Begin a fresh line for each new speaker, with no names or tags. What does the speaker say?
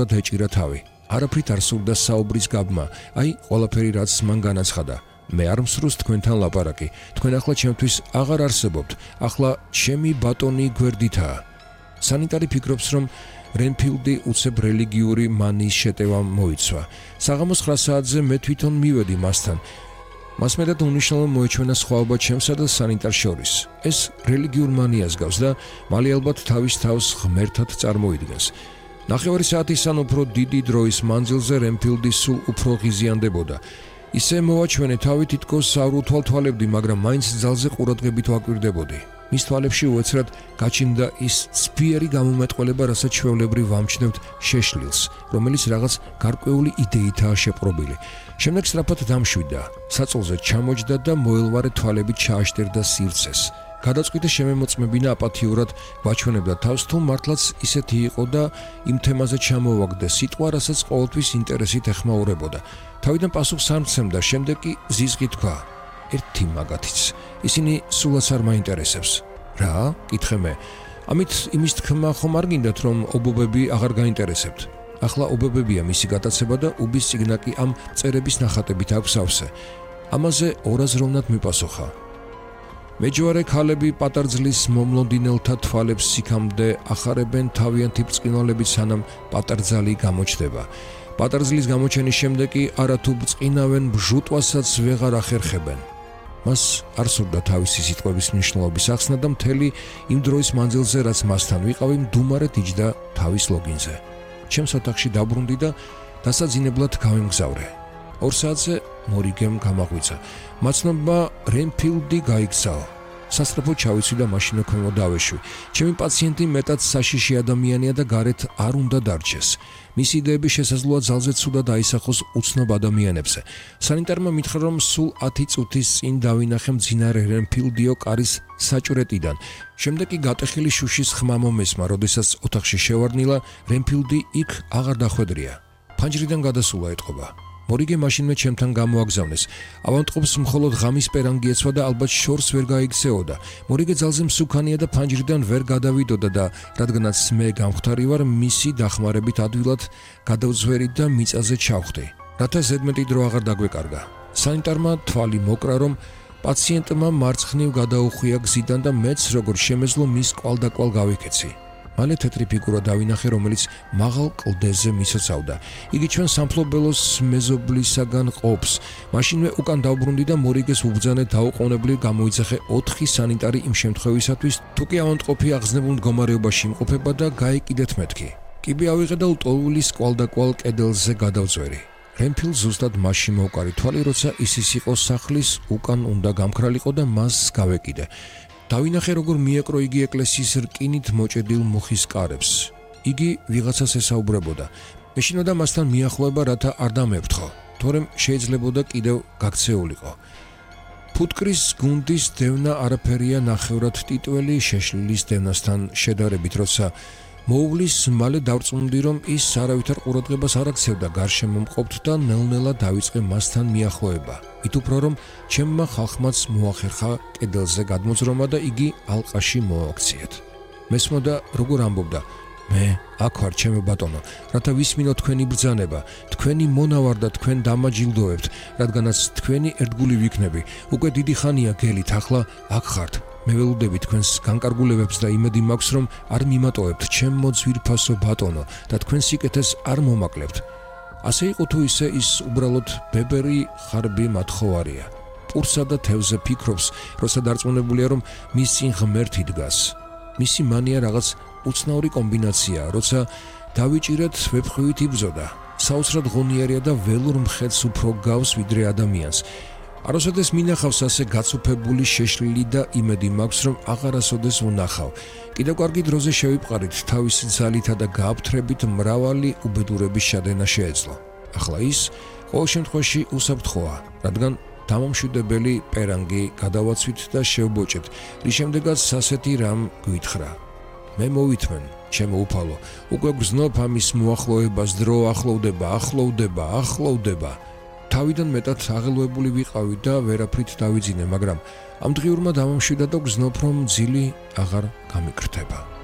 ეჭირა თავი. არაფრით არ სურდა საუბრის გაბმა, აი ყველაფერი რაც მან განაცხადა. მე არ მსურს თქვენთან ლაპარაკი. თქვენ ახლა ჩემთვის აღარ არსებობთ. ახლა ჩემი ბატონი გვერდითაა. სანიტარი ფიქრობს, რომ რენფილდი უცებ რელიგიური მანიის შეტევა მოიცვა. საღამოს 9 საათზე მე თვითონ მივედი მასთან. მას მეტად უნიშნელო მოეჩვენა სხვაობა ჩემსა და სანიტარ შორის. ეს რელიგიურ მანიას გავს და მალე ალბათ თავის თავს ღმერთად წარმოიდგენს. 9 საათის ან უფრო დიდი დროის მანძილზე რენფილდი სულ უფრო ღიზიანდებოდა. ისე მოვაჩვენე თავი თითქოს არ უთვალთვალებდი, მაგრამ მაინც ძალზე ყურადღებით ვაკვირდებოდი. მის თვალებში უეცრად გაჩნდა ის სპიერი გამომეტყველება, რასაც ჩვეულებრივ ვამჩნევთ შეშლილს, რომელიც რაღაც გარკვეული იდეითაა შეპყრობილი. შემდეგ სწრაფად დამშვიდა, საწოლზე ჩამოჯდა და მოელვარე თვალებით ჩააშტერდა სივრცეს. გადაწყვიტა შემემოწმებინა აპათიურად ვაჩვენებდა თავს, თუ მართლაც ისეთი იყო და იმ თემაზე ჩამოვაგდა სიტყვა, რასაც ყოველთვის ინტერესით ეხმაურებოდა. თავიდან პასუხს არ მცემდა, შემდეგ კი ზიზღით თქვა: ერთი მაგათიც. ისინი სულაც არ მაინტერესებს. რა? კითხე მე. ამით იმის თქმა ხომ არ გინდათ, რომ ობობები აღარ გაინტერესებთ. ახლა ობობებია მისი გატაცება და უბის სიგნა კი ამ წერების ნახატებით აქვს ავსე. ამაზე ორაზროვნად მიპასუხა. მეჯვარე ქალები პატარძლის მომლოდინელთა თვალებს სიქამდე ახარებენ თავიანთი ბრწყინვალებით, სანამ პატარძალი გამოჩნდება. პატარძლის გამოჩენის შემდეგ კი არათუ ბრწყინავენ, ბჟუტვასაც ვეღარ ახერხებენ. მას არ სურდა თავისი სიტყვების მნიშვნელობის ახსნა და მთელი იმ დროის მანძილზე, რაც მასთან ვიყავი, მდუმარედ იჯდა თავის ლოგინზე. ჩემს ოთახში დაბრუნდი და დასაძინებლად გავიმგზავრე. 2 საათზე მორიგემ გამაღვიცა. მაცნობმა რენფილდი გაიქცაო. სასწრაფოდ ჩავიცვი და მაშინო ქვემო დავეშვი. ჩემი პაციენტი მეტად საშიში ადამიანია და გარეთ არ უნდა დარჩეს. მისი იდეები შესაძლოა ძალზე ცუდად აისახოს უცნობ ადამიანებზე. სანიტარმა მითხრა, რომ სულ 10 წუთის წინ დავინახე მძინარე რენფილდიო კარის საჭვრეტიდან. შემდეგ კი გატეხილი შუშის ხმა მომესმა, როდესაც ოთახში შევარდნილა, რენფილდი იქ აღარ დახვედრია. ფანჯრიდან გადასულა ეტყობა. მორიგე მაშინვე ჩემთან გამოაგზავნეს. ავანტყოფს მხოლოდ ღამის პერანგი ეცვა და ალბათ შორს ვერ გაიგზეოდა. მორიგე ძალზე მსუქანია და ფანჯრიდან ვერ გადავიდოდა და რადგანაც მე გამختარი ვარ, მისი დახმარებით ადვილად გადავძვერი და მიწაზე ჩავხდი. რათა ზედმეტი დრო აღარ დაგვეკარგა. სანიტარმა თვალი მოკრა, რომ პაციენტმა მარცხნივ გადაუხვია გზიდან და მეც როგორც შემეძლო მის კვალდაკვალ გავიქეცი. მალე თეთრი ფიგურა დავინახე, რომელიც მაღალ კლდეზე მისოცავდა. იგი ჩვენ სამფლობელოს მეზობლისაგან ყოფს. მაშინვე უკან დავბრუნდი და მორიგეს უბრძანე დაუყოვნებლივ გამოიძახე 4 სანიტარი იმ შემთხვევისათვის, თუ კი ავადმყოფი აღზნებულ მდგომარეობაში იმყოფება და გაეკიდეთ მეთქი. კიბე ავიღე და ლტოლვილის კვალდაკვალ კედელზე გადავწვერი. რენფილ ზუსტად მასში მოვკარი თვალი, როცა ის იყო სახლის უკან უნდა გამქრალიყო და მას გავეკიდე. დავინახე, როგორ მიეკრო იგი ეკლესიის რკინით მოჭედილ მუხის კარებს. იგი ვიღაცას ესაუბრებოდა. მეშინოდა მასთან მიახლოება, რათა არ დამეფრთხო, თორემ შეიძლებოდა კიდევ გაქცეულიყო. ფუტკრის გუნდის დევნა არაფერია ნახევრად ტიტველი შეშლილის დევნასთან შედარებით, როცა მოუვლის, მალე დავწუნდი, რომ ის არავითარ ყურადღებას არ აქცევდა გარშემო მყოფთ და ნელ-ნელა დავიწყე მასთან მიახლოება. მით უფრო რომ ჩემმა ხალხმაც მოახერხა კედელზე გადმოძრომა და იგი ალყაში მოაქციეთ. მესმოდა როგორ ამბობდა: მე აქ ვარ, ჩემო ბატონო, რათა ვისმინო თქვენი ბრძანება, თქვენი მონავარ და თქვენ დამაჯილდოებთ, რადგანაც თქვენი ერთგული ვიქნები. უკვე დიდი ხანია გელით, ახლა აქ ხართ. მე ველოდები თქვენს განკარგულებებს და იმედი მაქვს, რომ არ მიმატოვებთ ჩემო ძვირფასო ბატონო და თქვენ სიკეთეს არ მომაკლებთ. ასე იყო თუ ისე, ის უბრალოდ ბებერი ხარბი მათხოვარია. პურსა და თევზე ფიქრობს, როცა დარწმუნებულია, რომ მის წინ ღმერთი დგას. მისი მანია რაღაც უცნაური კომბინაციაა, როცა დავიჭირეთ ვეფხვით იბრძოდა. საოცრად ღონიერია და ველურ მხედს უფრო გავს ვიდრე ადამიანს. არასოდეს მინახავს ასე გაცოფებული შეშლილი და იმედი მაქვს, რომ აღარასოდეს ვნახავ. კიდევ კარგი დროზე შევიპყარით, თავისი ძალითა და გააფთრებით მრავალი უბედურების შადენა შეეძლო. ახლა ის ყოველ შემთხვევაში უსაფრთხოა, რადგან დამამშვიდებელი პერანგი გადავაცვით და შევბოჭეთ, რის შემდეგაც ასეთი რამ გვითხრა. მე მოვითმენ, ჩემო უფალო, უკვე გრძნობ ამის მოახლოებას, დრო ახლოვდება. თავიდან მეტად აღელვებული ვიყავი და ვერაფრით დავიძინე, მაგრამ ამ დღიურმა დამამშვიდა და გრძნობ, რომ ძილი აღარ გამიკრთება.